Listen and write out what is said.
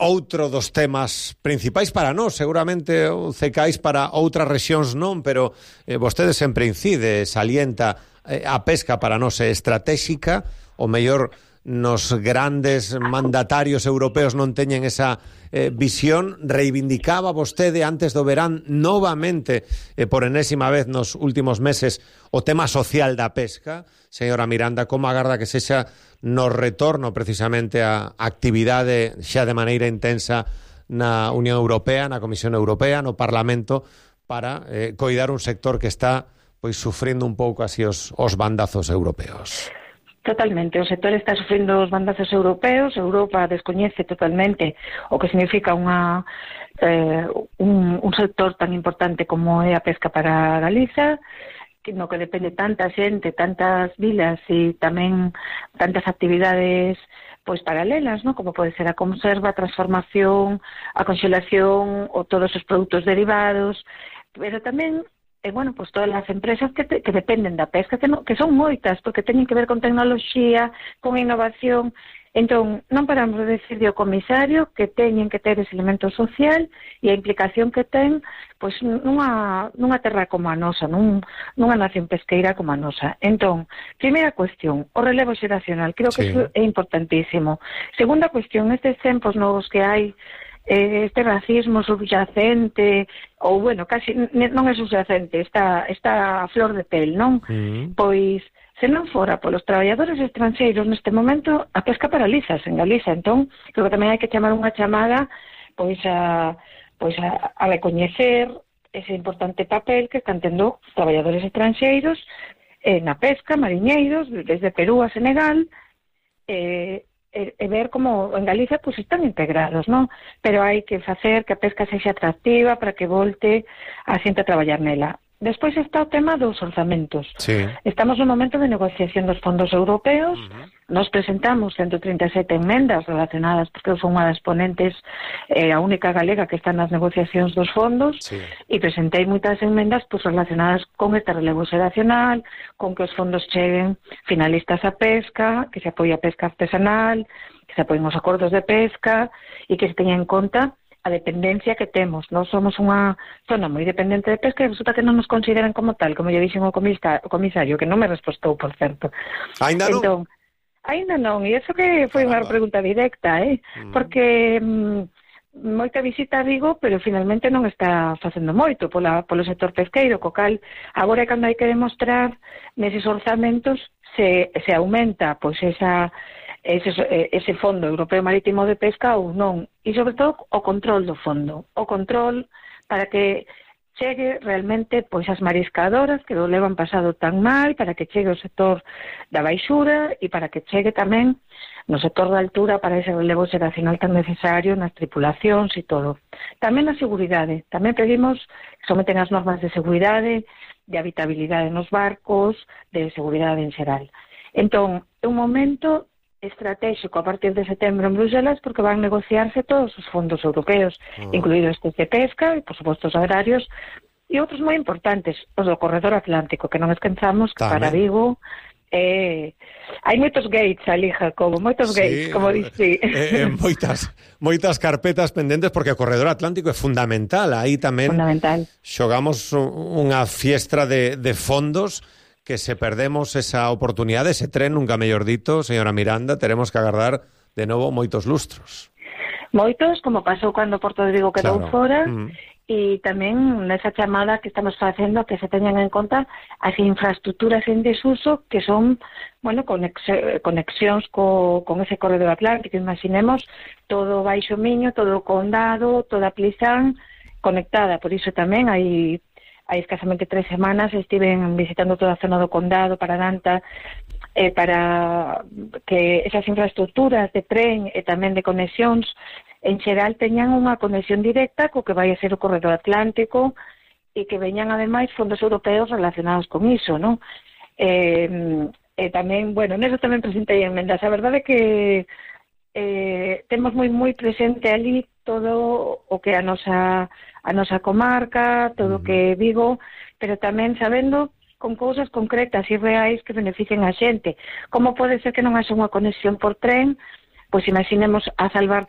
outro dos temas principais para nós, seguramente o CECAIS para outras rexións non, pero vostede sempre incide, salienta a pesca para nós é estratégica, o mellor nos grandes mandatarios europeos non teñen esa visión. Reivindicaba vostede antes do verán novamente, por enésima vez nos últimos meses, o tema social da pesca. Señora Miranda, como agarda que sexa no retorno precisamente a actividade xa de maneira intensa na Unión Europea, na Comisión Europea, no Parlamento, para coidar un sector que está pois sufrindo un pouco así os bandazos europeos? Totalmente, o sector está sufrindo os bandazos europeos. Europa descoñece totalmente o que significa un sector tan importante como é a pesca para Galiza, no que depende tanta xente, tantas vilas e tamén tantas actividades pois paralelas, ¿no? Como pode ser a conserva, a transformación, a conxelación ou todos os produtos derivados, pero tamén pues todas as empresas que dependen da pesca, que son moitas, porque teñen que ver con tecnoloxía, con innovación. Entón, non paramos de decir ao comisario que teñen que ter ese elemento social e a implicación que ten pois nunha terra como a nosa, nunha nación pesqueira como a nosa. Entón, primeira cuestión, o relevo xeracional, creo que eso é importantísimo. Segunda cuestión, estes tempos novos que hai, este racismo subyacente, ou, casi non é subyacente, está a flor de pel, non? Pois, se non fora polos traballadores estranxeiros neste momento, a pesca paralizas en Galiza. Entón, creo que tamén hai que chamar unha chamada pois a recoñecer ese importante papel que están tendo traballadores estranxeiros na pesca, mariñeiros, desde Perú a Senegal, e ver como en Galicia pues están integrados, non? Pero hai que facer que a pesca sexa atractiva para que volte a xente a traballar nela. Despois está o tema dos orzamentos. Sí. Estamos no momento de negociación dos fondos europeos. Nos presentamos 137 enmendas relacionadas, porque eu son unha das ponentes, a única galega que está nas negociacións dos fondos, e presentei moitas enmendas relacionadas con este relevo xeracional, con que os fondos cheguen finalistas a pesca, que se apoie a pesca artesanal, que se apoien os acordos de pesca, e que se teña en conta a dependencia que temos. Nós somos unha zona moi dependente de pesca e resulta que non nos consideran como tal, como lle dixen o comisario, que non me respostou, por certo. Ainda non? Entón, ainda non, e iso que foi unha pregunta directa, porque moita visita a Vigo, pero finalmente non está facendo moito polo sector pesqueiro, co cal agora é cando hai que demostrar neses orzamentos se aumenta pois ese Fondo Europeo Marítimo de Pesca ou non, e sobre todo o control do fondo, o control para que chegue realmente pois as mariscadoras que o levan pasado tan mal, para que chegue o sector da baixura e para que chegue tamén no sector da altura para ese relevo xeracional tan necesario nas tripulacións e todo. Tamén a seguridade, tamén pedimos que someten as normas de seguridade, de habitabilidade nos barcos, de seguridade en xeral. Entón, é un momento estratégico a partir de setembro en Bruselas, porque van negociarse todos os fondos europeos, incluídos estes de pesca e, por suposto, os agrarios, e outros moi importantes, os do Corredor Atlántico, que non esquenzamos que para Vigo hai moitos gates ali, Jacobo, moitos gates, como dixe. Moitas carpetas pendentes, porque o Corredor Atlántico é fundamental. Aí tamén xogamos unha fiestra de fondos que se perdemos esa oportunidade, ese tren, nunca mellor dito, señora Miranda, teremos que agardar de novo moitos lustros. Moitos, como pasou cando Porto de Vigo quedou fora, e tamén nesa chamada que estamos facendo que se teñan en conta as infraestructuras en desuso que son, conexións con ese Corredor Atlántico. Imaginemos todo o Baixo Miño, todo o Condado, toda a Plisán conectada. Por iso tamén hai escasamente 3 semanas estiven visitando toda a zona do Condado para Danta, para que esas infraestructuras de tren e tamén de conexións en xeral teñan unha conexión directa co que vai a ser o Corredor Atlántico e que veñan ademais fondos europeos relacionados con iso, non? Tamén, neso tamén presentei enmendas. A verdade é que temos moi presente ali todo o que a nosa comarca, todo o que Vigo, pero tamén sabendo con cousas concretas e reais que beneficien a xente. Como pode ser que non haxa unha conexión por tren? Pois imaginemos a salvar